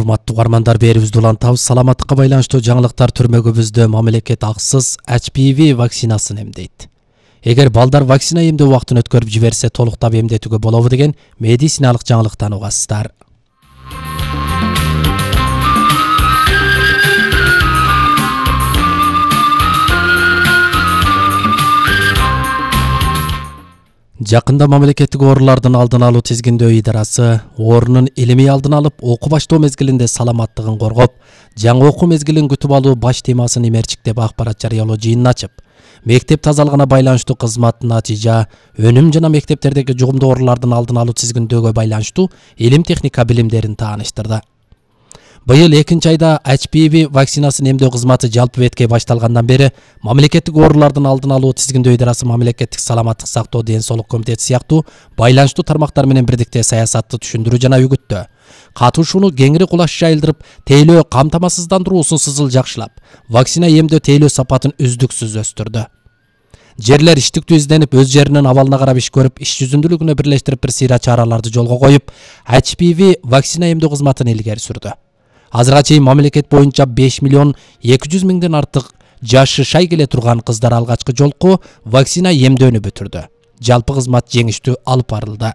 Урматтуу угармандар, берибизди улантабыз. Саламаттыкка байланыштуу жаңылыктар түрмөгүбүздө мамлекет аксыз HPV вакцинасын эмдейт. Эгер балдар вакцина эмдөө убактын өткөрүп жиберсе, толуктап эмдетүүгө болобу деген медициналык жаңылыктан угасыздар. Жакында мамлекеттик оорулардын алдын алуу тизгиндөө идарасы оорунун илимий алдын алып, окуу баштоо мезгилинде саламаттыгын коргоп, жаңы окуу мезгилин күтүп алуу баш темасын имерчиктеп акпарат жарыялоо жыйынын ачып, мектеп тазалыгына байланыштуу кызмат, натыйжа, өнүм жана мектептердеги жугумдуу оорулардын алдын алуу тизгиндөөгө байланыштуу илим техника билимдерин тааныштырды. Быйыл 2-айда HPV вакцинасын эмдөө кызматы жалпы бетке башталгандан бери мамлекеттик оорулардын алдын алуу тизгиндөө идарасы мамлекеттик саламаттык сактоо ден соолук комитети сыяктуу байланыштуу тармактар менен бирдикте саясатты түшүндүрүү жана үгүттөө, катышууну кеңири кулаш жайылдырып, тейлөө камтамасыздандыруусун сызыл жакшылап, вакцина эмдөө тейлөө сапатын үздүксүз өстүрдү. Жерлер иштиктүү изденип, өз жеринин абалына карап иш көрүп, иш жүзүндүүлүгүнө бирлештирип бир сыйра чараларды жолго коюп, HPV вакцина эмдөө кызматын илгери сүрдү. Азырга чейин мамлекет боюнча 5 миллион 200 миңден артык жашы шай келе турган кыздар алгачкы жолку вакцина эмдөөнү бүтүрдү. Жалпы кызмат жеңиштүү алып барылды.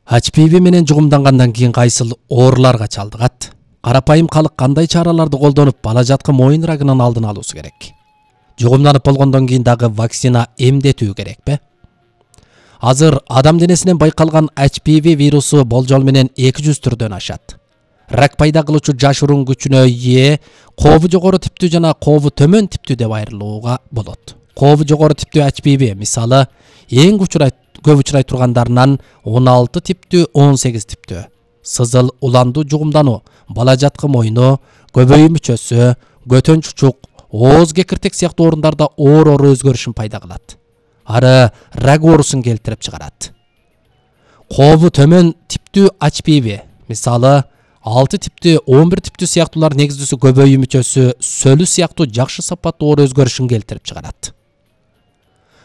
HPV менен жугумдангандан кийин кайсыл ооруларга чалдыгат? Карапайым калык кандай чараларды колдонуп, бала жаткы моюн рагынын алдын алуусу керек? Жугумданып болгондон кийин дагы вакцина эмдетүү керекпи? Азыр адам денесинен байкалган HPV вирусу болжол менен 200 түрдөн ашат. Рак пайда кылуучу жашыруун күчүнө ээ кообу жогору типтүү жана кообу төмөн типтүү деп айрылууга болот. Кообу жогору типтүү HPV мисалы эң көп учурай тургандарынан 16 типтүү, 18 типтүү. Сызыл уландуу жугумдануу, бала жаткы моюну, көбөйүү мүчөсү, көтөн чучук, ооз кекиртек сыяктуу орундарда оор өзгөрүшүн пайда кылат. Ары рак оорусун келтирип чыгарат. Кообу төмөн типтүү HPV мисалы 6 типтүү, 11 типтүү сыяктуулар негиздүүсү көбөйүү мүчөсү, сөлү сыяктуу жакшы сапаттуу оор өзгөрүшүн келтирип чыгарат.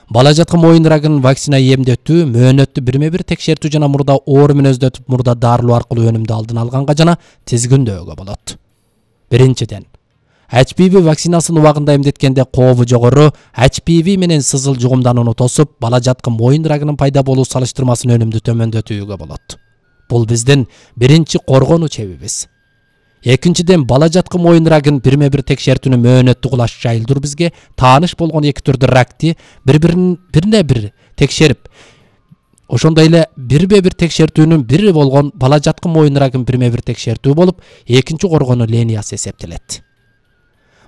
Бала жаткы моюн рагын вакцина эмдетүү мөөнөттүү бирме-бир текшертүү жана мурда оору мүнөздөтүп, мурда дарылоо аркылуу өнүмдү алдын алганга жана тизгиндөөгө болот. Биринчиден, HPV вакцинасын убагында эмдеткенде кообу жогору HPV менен сызыл жугумданууну тосуп, бала жаткы моюн рагынын пайда болуу салыштырмасын өнүмдү төмөндөтүүгө болот. Бул биздин биринчи коргонуу чебибиз. Экинчиден, бала жаткы моюн рагын бирме-бир текшертүүнү мөөнөттүү кулаш жайылдыруу бизге тааныш болгон эки түрдүү ракты бир текшерип, ошондой эле бирме-бир текшертүүнүн бири болгон бала жаткы моюн рагын бирме-бир текшертүү болуп, экинчи коргонуу линиясы эсептелет.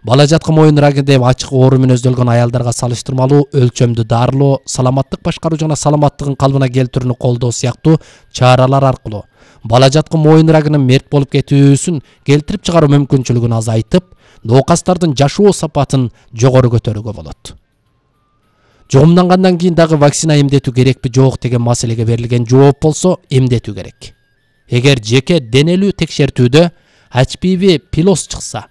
Бала жаткы моюн рагы деп ачык оору мүнөздөлгөн аялдарга салыштырмалуу өлчөмдүү дарылоо, саламаттык башкаруу жана саламаттыгын калыбына келтирүүнү колдоо сыяктуу чаралар аркылуу бала жаткы моюн рагынын мерт болуп кетүүсүн келтирип чыгаруу мүмкүнчүлүгүн азайтып, ноокастардын жашоо сапатын жогору көтөрүүгө болот. Жугумдангандан кийин дагы вакцина эмдетүү керекпи жок деген маселеге берилген жооп болсо, эмдетүү керек. Эгер жеке денелүү текшертүүдө HPV пилос чыкса,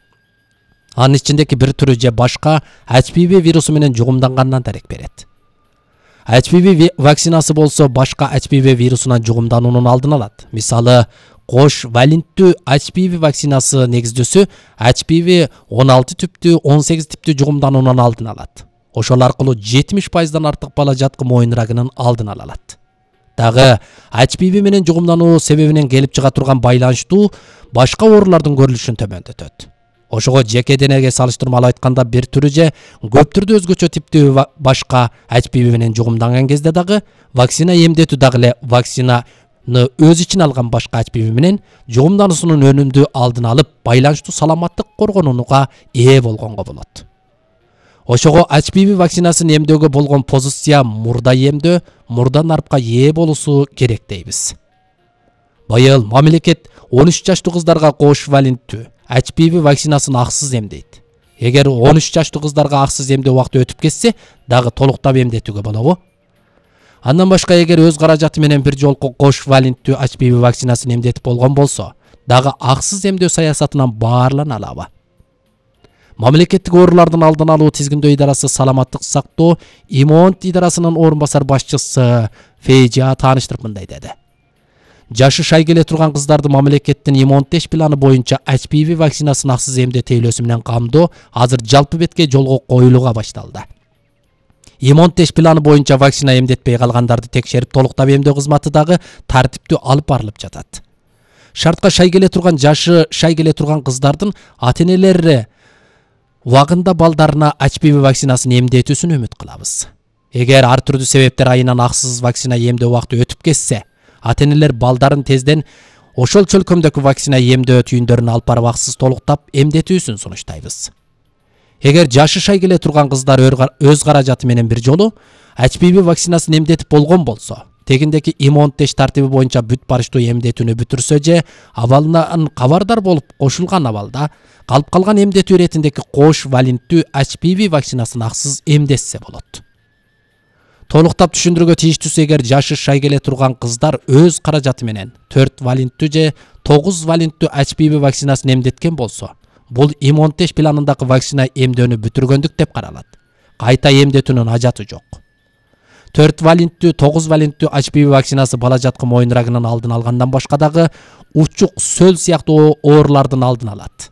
анын ичиндеги бир түрү же башка HPV вирусу менен жугумдангандан дарек берет. HPV вакцинасы болсо башка HPV вирусунан жугумдануунун алдын алат. Мисалы, кош валенттүү HPV вакцинасы негиздүүсү HPV 16 типтүү, 18 типтүү жугумдануунун алдын алат. Ошол аркылуу 70%дан артык бала жаткы моюн рагынын алдын ала алат. Дагы HPV менен жугумдануу себебинен келип чыга турган байланыштуу башка оорулардын көрүлүшүн төмөндөтөт. Ошого жеке денеге салыштырмалуу айтканда бир түрү же көп түрдүү өзгөчө типтүү башка HPV менен жугумданган кезде дагы вакцина эмдетүү дагы эле вакцинаны өз ичине алган башка HPV менен жугумдануусунун өнүмдү алдын алып, байланыштуу саламаттык коргонууга ээ болгонго болот. Ошого HPV вакцинасын эмдөөгө болгон позиция мурда эмдөө, мурда нарпка ээ болуусу керек дейбиз. Быйыл мамлекет 13 жаштуу кыздарга кош валенттүү HPV вакцинасын аксыз эмдейт. Эгер 13 жаштуу кыздарга аксыз эмдөө убакыты өтүп кетсе, дагы толуктап эмдетүүгө болобу? Андан башка эгер өз каражаты менен бир жолку кош валенттүү HPV вакцинасын эмдетип болгон болсо, дагы аксыз эмдөө саясатынан баарлана алабы? Мамлекеттик оорулардын алдын алуу тизгиндөө идарасы саламаттык сактоо ИМОНД идарасынын орун басар башчысы Фейжа тааныштырып мындай деди. Жашы шай келе турган кыздарды мамлекеттин ИМОНД планы боюнча HPV вакцинасын аксыз эмдетүүлөөсү менен камдоо азыр жалпы бетке жолго коюлууга башталды. ИМОНД планы боюнча вакцина эмдетпей калгандарды текшерип толуктап эмдөө кызматы дагы тартиптүү алып барылып жатат. Шартка шай келе турган жашы шай келе турган кыздардын ата-энелери убагында балдарына HPV вакцинасын эмдетүүсүн үмүт кылабыз. Эгер ар түрдүү себептер айынан аксыз вакцина эмдөө убакыты өтүп кетсе, ата-энелер балдарын тезден ошол чөлкөмдөгү вакцина эмдөө түйүндөрүн алып барып аксыз толуктап эмдетүүсүн сунуштайбыз. Эгер жашы шай келе турган кыздар өз каражаты менен бир жолу HPV вакцинасын эмдетип болгон болсо, тегиндеки ИМОНД тартиби боюнча бүт барыштуу эмдетүүнү бүтүрсө же абалынан кабардар болуп кошулган абалда калып калган эмдетүү иретиндеги кош валенттүү HPV вакцинасын аксыз эмдетсе болот. Толуктап түшүндүрүүгө тийиштүүсү, эгер жашы шай келе турган кыздар өз каражаты менен 4 валенттүү же 9 валенттүү HPV вакцинасын эмдеткен болсо, бул ИМОНД планындагы вакцина эмдөөнү бүтүргөндүк деп каралат. Кайта эмдетүүнүн ажаты жок. 4 валенттүү, 9 валенттүү HPV вакцинасы бала жаткы моюн рагынын алдын алгандан башка дагы учук, сөл сыяктуу оорулардын алдын алат.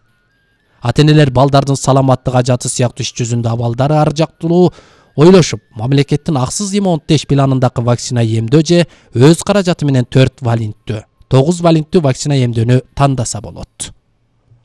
Ата-энелер балдардын саламаттык ажаты сыяктуу иш жүзүндө абалдары ар жактуу ойлошуп, мамлекеттин аксыз ИМОНД планындагы вакцина эмдөө же өз каражаты менен 4 валенттүү, 9 валенттүү вакцина эмдөөнү тандаса болот.